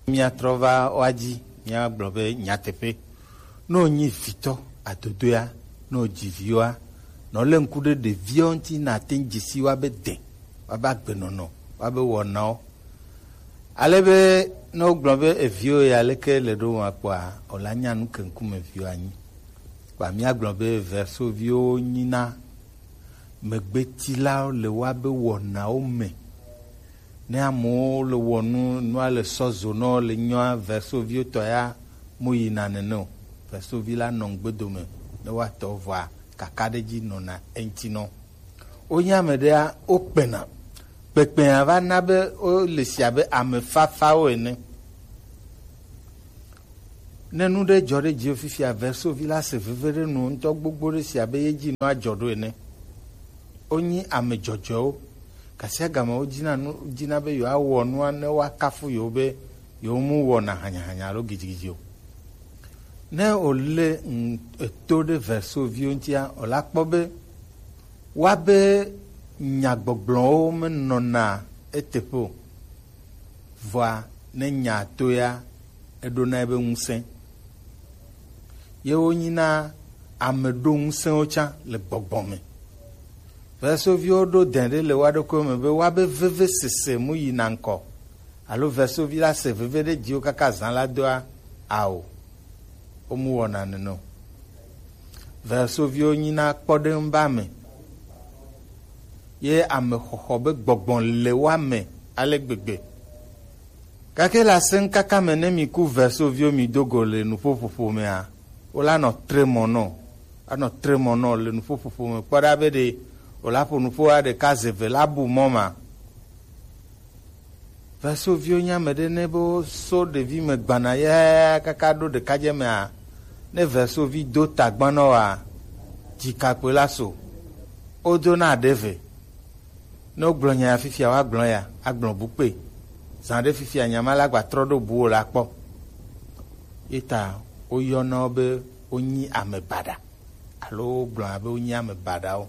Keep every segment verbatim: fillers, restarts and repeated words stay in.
Míatrɔ va woa dzi, míagblɔ be nyateƒe. Ne wònyi vitɔ adodoea, ne wòdzi viwoa, ne wòlé ŋku ɖe ɖeviawo ŋuti, nàte ŋu dze si woabe de, woabe agbenɔnɔ, woabe wɔnawo. Ale be ne wogblɔ be eviwo ya leke le ɖo ma kpɔa, wòla nya nu ke ŋkume viwo anyi. Kpa míagblɔ be verso viwo nyina megbetilawo le woabe wɔnawo me. Ne amewo le wɔ nu, nua le sɔ zo nɔ le nyɔa, verso viwo tɔ ya mo yina nene o. Verso vi la nɔ ŋgbedo me ne woatɔ vɔa kakaɖedzi nɔna eŋuti nɔ. Wonye ame ɖea, wokpena. Kpekpea va na be wole si abe ame fafawo ene. Ne nu ɖe dzɔ ɖe dziwò fifia, verso vi la se veve ɖe nu ŋutɔ gbogbo ɖe si abe ye dzi nua dzɔ ɖo ene. Wonyi ame dzɔdzɔewo. Gasiagame wodina nu, dina be yewoawɔ nua ne woakafu yewo be yewo mu wɔna hanyahanya alo gidigidi o. Ne wòle ŋ-, eto ɖe verso viwo ŋutia, wòla kpɔ be woabe nyagbɔgblɔwo menɔna eteƒe o. Vɔa, ne nya to ya, eɖona ebe ŋusẽ. Ye wonyina ame ɖo ŋusẽwo tsã le gbɔgbɔ me. Vesoviwo ɖo dɛn ɖe le woa ɖokuiwo me be woabe vevesese mu yina ŋkɔ, alo vesovi la se veve ɖe dziwo kaka zã la doa? Ao, womu wɔna nene o. Vesoviwo nyina kpɔɖeŋu be ame, ye ame xɔxɔ be gbɔgbɔ le woa me ale gbegbe. Gake le asẽŋkaka me, ne mi ku vesoviwo mi do go le nuƒoƒoƒo mea, wola nɔ tre mɔ nɔ, anɔ tre mɔ nɔ le nuƒoƒoƒo me kpɔ ɖa be ɖe wòla ƒo nuƒoa ɖeka ze ve la bu mɔ ma. Vesoviwo nye ame ɖe ne be woso ɖevi me gbana ya kaka ɖo ɖekadze mea, ne vesovi do tagban nɔ wa, dzikakpui la so, wodona ɖe ve. Ne wogblɔ nya ya fifia, woagblɔ ya, agblɔ bu kpe. Zã ɖe fifia, nya ma la gba trɔ ɖo bu wo la kpɔ. Ye ta woyɔna wo be wonyi ame baɖa, alo wogblɔna be wonyi ame baɖawo.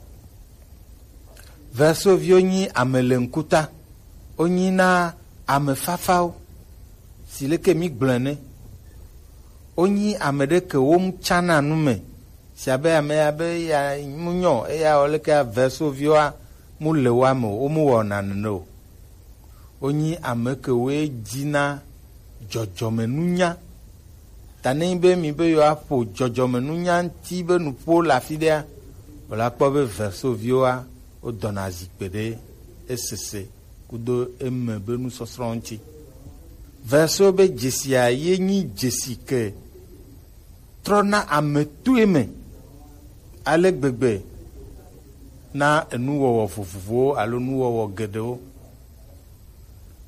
Vesoviwo nyi ame le ŋkuta, wonyi na ame fafawo, si leke mi gblɔe ne. Wonyi ame ɖe ke wo ŋu tsana nu me, si abe ame ya be ya mu nyɔ, eya wɔ leke vesoviwoa mu le wa me o, wo mu wɔna nene o. Wonyi ame ke woe dzina dzɔdzɔmenunya. Ta ne nyi be mi be yewoaƒo dzɔdzɔmenunya ŋuti be nuƒo le afi ɖea, wòla kpɔ be vesoviwoa, wodɔna zikpe ɖe esese kudo eme be nusɔsrɔ̃ ŋuti. Veso be dzesia ye nyi dzesi ke trɔna ame toe me ale gbegbe na enuwɔwɔ vovovowo alo nuwɔwɔ geɖewo.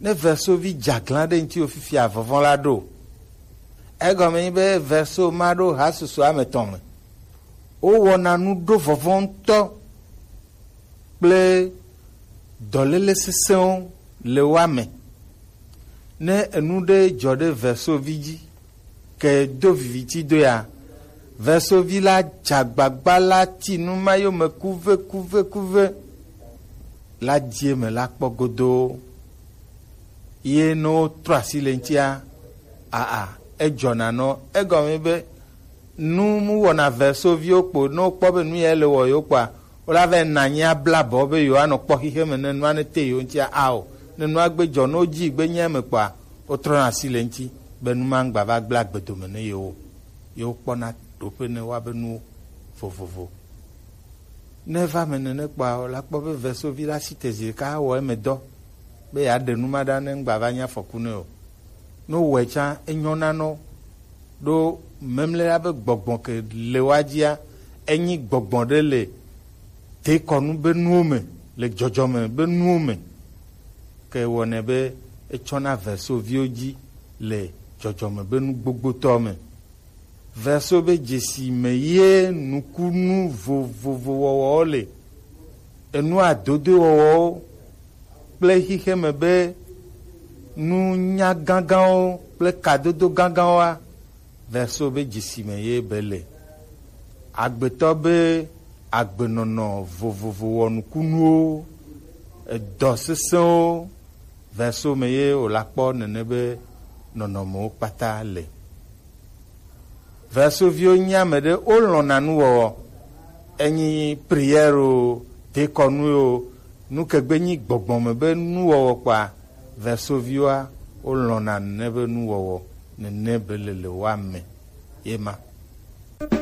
Ne vesovi dze aglã ɖe ŋutiwò fifia, vɔvɔ̃ la ɖo. Egɔme nyi be veso ma ɖo hasusu ame tɔn me. Wowɔna nu ɖo vɔvɔ̃ ŋutɔ kple dɔléle sesẽwo le woa me. Ne enu ɖe dzɔ ɖe vesovi dzi, ke do viviti do ya, vesovi la dze agbagba la ti nu ma yome kuve, kuve, kuve la die me la kpɔ godoo. Ye ne wotrɔ asi le ŋutia, aa, edzɔna nɔ. Egɔme be nu mu wɔna vesoviwo kpo, ne wokpɔ be nu ya le wɔ yewo kpɔa, wola va yi na anyi abla abɔ be yewoanɔ kpɔ xixe me ne nua ne te yewo ŋutia ao. Ne nua gbe dzɔ, ne wodzi gbe nya me kpɔa, wotrɔna asi le ŋuti be nu ma ŋgba va gblẽ agbe dome ne yewo o. Yewo kpɔna ɖoƒe ne woabe nuwo vovovo. Ne eva me nene kpɔa, wòla kpɔ be vesovi la si te zi ɖeka awɔ eme dɔ be yeaɖe nu ma ɖa ne ŋgba va nye afɔku nɛ o. Ne wòwɔe tsã, enyɔna nɔ ɖo memlɛ la be gbɔgbɔ ke le woa dzia, enyi gbɔgbɔ ɖe le dekɔnu be nuwo me, le dzɔdzɔme be nuwo me. Ke wɔnɛ be etsɔna vesoviwo dzi le dzɔdzɔme be nu gbogbotɔ me. Veso be dzesi me ye nukunu vovovo wɔwɔwo le, enu adodoe wɔwɔwo kple xixeme be nunya gãgãwo kple kadodo gãgãwoa, veso be dzesi me ye be le. Agbetɔ be agbenɔnɔ vovovo wɔnukunuwo, edɔ sesẽwo, veso me ye wòla kpɔ nene be nɔnɔmewo kpata le. Vesoviwo nyi ame ɖe wolɔ̃na nuwɔwɔ. Enyi prière o, dekɔnu o, nukegbe nyi gbɔgbɔ me be nuwɔwɔ kpɔa, Vesoviwoa wolɔ̃na nene be nuwɔwɔ, nene be le le woa me. Ye ma.